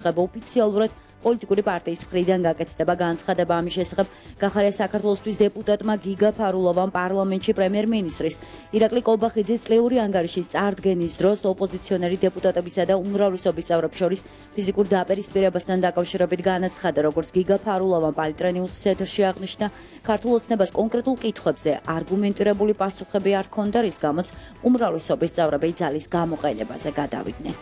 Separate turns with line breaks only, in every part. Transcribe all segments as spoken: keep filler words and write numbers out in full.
ხება ოფიციალურად პოლიტიკური პარტიის მხრიდან გაკეთდება განცხადება ამის შესახებ გახარია საქართველოსთვის დეპუტატმა გიგა ფარულოვამ პარლამენტში პრემიერ-მინისტრის ირაკლი კობახიძის წლიური ანგარიშის წარდგენის დროს ოპოზიციონერი დეპუტატებისა და უმრავლესობის წევრებს შორის ფიზიკურ დაპირისპირებასთან დაკავშირებით განაცხადა, როგორც გიგა ფარულოვამ პალიტრენიუსის ეთერში აღნიშნა, ქართულ ოცნებას კონკრეტულ კითხვებზე არგუმენტირებული პასუხები არ ჰქონდა, რის გამოც უმრავლესობის წევრები ძალის გამოყენებაზე გადავიდნენ.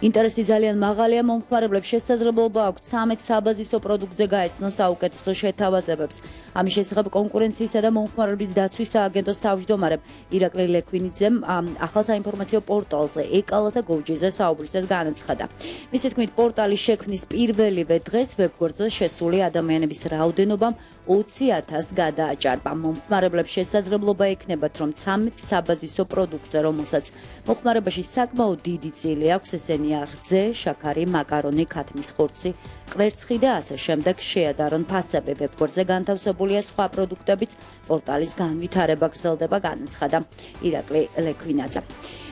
ინტერესი ძალიან მაღალია, მომხმარებლებს შესაძლებლობა აქვთ ცამეტ საბაზისო პროდუქტზე გაეცნონ საუკეთესო შეთავაზებებს. ამის შესახებ კონკურენციისა და მომხმარებლების დაცვის სააგენტოს თავმჯდომარემ ირაკლი ლექვინიძემ ახალ საინფორმაციო პორტალზე ეკალა გოჯიზე საუბრისას განაცხადა. მისი თქმით, პორტალის შექმნის პირველივე დღეს ვებგვერდზე შესული ადამიანების რაოდენობამ ოცი ათასს გადააჭარბა. მომხმარებლებს შესაძლებლობა ექნებათ, რომ ცამეტ საბაზისო პროდუქტზე, რომელსაც მოხმარებაში საკმაოდ დიდი წილი აქვს, ესენი რძე, შაქარი, მაკარონი, ქათმის ხორცი, კვერცხი და ასე შემდეგ შეადარონ ფასები. ვებგვერდზე განთავსებულია სხვა პროდუქტებიც, პორტალის განვითარება გრძელდება, განაცხადა ირაკლი ლექვინაძე.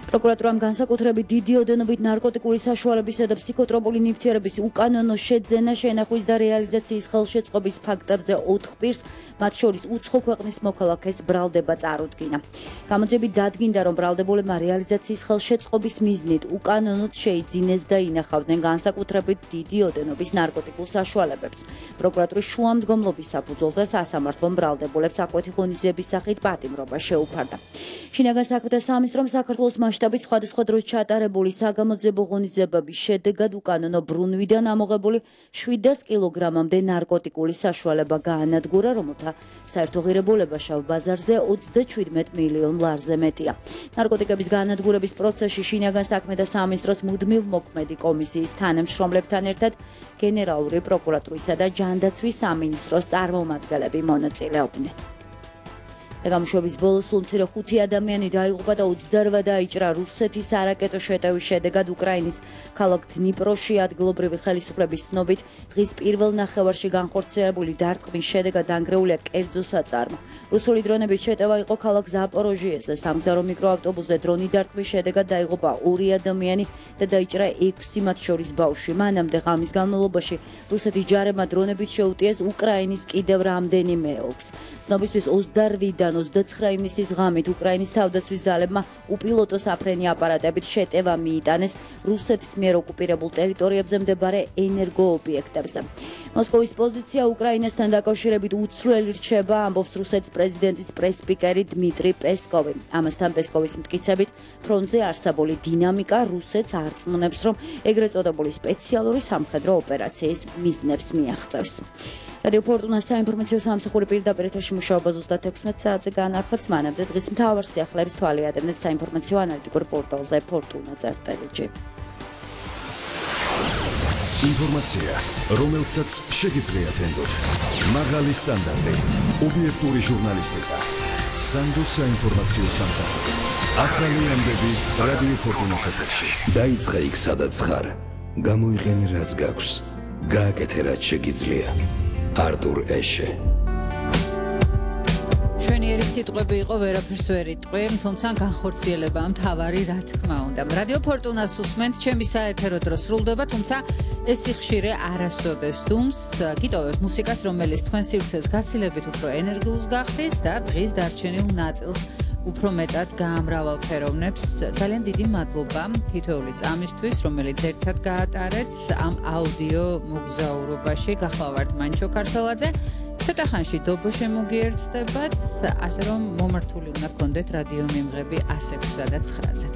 პროკურატურამ განსაკუთრებით დიდი ოდენობით ნარკოტიკული საშუალებისა და ფსიქოტროპული ნივთიერების უკანონო შეძენა, შენახვის და რეალიზაციის ხელშეწყობის ფაქტებზე ოთხ პირს, მათ შორის უცხო ქვეყნის მოქალაქეს ბრალდება წარუდგინა. გამოძიებით დადგინდა, რომ ბრალდებულებმა რეალიზაციის ხელშეწყობის მიზნით უკანონოდ შეიძინეს და ინახავდნენ განსაკუთრებით დიდი ოდენობის ნარკოტიკულ საშუალებებს. პროკურატურის შუამდგომლობის საფუძველზე სასამართლომ ბრალდებულებს აკვეთი ღონისძიების სახით პატიმრობა შეუფარდა. შინაგან საქმეთა სამინისტრომ საქართველოს მასშტაბით სხვადასხვა დროს ჩატარებული საგამოძიებო ღონისძიებების შედეგად უკანონო ბრუნვიდან ამოღებული შვიდას კილოგრამამდე ნარკოტიკული საშუალება გაანადგურა, რომელთა საერთო ღირებულება შავ ბაზარზე ოცდაჩვიდმეტ მილიონ ლარზე მეტია. ნარკოტიკების გაანადგურების პროცესში შინაგან საქმეთა სამინისტროს მუდმივ მოქმედი კომისიის თანამშრომლებთან ერთად გენერალური პროკურატურისა და ჯანდაცვის სამინისტროს წარმომადგენლები მონაწილეობდნენ. გამშვების ბოლოს სულ მცირე ხუთი ადამიანი დაიღუპა და ოცდაოთხ დაიჭრა რუსეთის არაკეტო შეტევის შედეგად უკრაინის ქალაქ დნიპროში. ადგილობრივი ხელისუფლების ცნობით, დღის პირველ ნახევარში განხორციელებული დარტყმის შედეგად დანგრეულია კერძო საწარმო. რუსული დრონების შეტევა იყო ქალაქ ზაპოროჟიეზე. სამგზავრო მიკროავტობუსზე დრონი დარტყმის შედეგად დაიღუპა ორი ადამიანი და დაიჭრა ექვსი, მათ შორის ბავშვი. მანამდე ღამის განმავლობაში რუსეთის ჯარებმა დრონებით შეუტიეს უკრაინის კიდევ რამდენიმე ოლქს. ცნობისთვის ოცდაოთხიდან ოცდაცხრა ივნისის ღამით უკრაინის თავდაცვის ძალებმა უპილოტო საფრენი აპარატებით შეტევა მიიტანეს რუსეთის მიერ ოკუპირებულ ტერიტორიებზე მდებარე ენერგოობიექტებზე. მოსკოვის პოზიცია უკრაინასთან დაკავშირებით უცვლელი რჩება, ამბობს რუსეთის პრეზიდენტის პრესსპიკერი დმიტრი პესკოვი. ამასთან პესკოვის მტკიცებით, ფრონტზე არსებული დინამიკა რუსეთს არწმუნებს, რომ ეგრეთ წოდებული სპეციალური სამხედრო ოპერაციის მიზნებს მიაღწევს. რადიო ფორტუნა საინფორმაციო სამსახური პირდაპირ ეთერში მუშაობა ზუსტად ექვსმეტ საათზე განახლებს. მანამდე დღის მთავარ სიახლეებს თვალი ადევნეთ საინფორმაციო ანალიტიკურ პორტალზე ფორტუნა წერტელჯ.
ინფორმაცია, რომელსაც შეგიძლიათ ენდოთ. მაღალი სტანდარტი, ობიექტური ჟურნალისტიკა. სანდოს საინფორმაციო სამსახური. ახალი ამბები რადიო ფორტუნას ეთერში.
დაიწყე იქ, სადაც ხარ. გამოიყენე რაც გაქვს. გააკეთე რაც შეგიძლია. არტურ ეშე.
შვენიერი სიტყვები იყო, ვერაფერს ვერ იტყვი, თუმცა განხორციელება მთავარი, რა თქმა უნდა. რადიო ფორტუნას უსმენთ, ჩემი საეთერო დრო სრულდება, თუმცა ესი ხშირე არასოდეს დუმს. გიტოვებთ მუსიკას, რომელიც თქვენ სივრცეს გაცილებით უფრო ენერგიულს გახდის და დღის დარჩენილ ნაწილს უფრო მეტად გაამრავალფეროვნებს. ძალიან დიდი მადლობა თითოეული წამისთვის, რომელიც ერთად გაატარეთ ამ აუდიო მოგზაურობაში. გახლავართ მანჩო ქარსალაძე. ცოტა ხანში დობო შემოგიერთდებათ, ასე რომ მომართული უნდა გქონდეთ რადიო მიმღები ასი ექვსსა და ცხრაზე.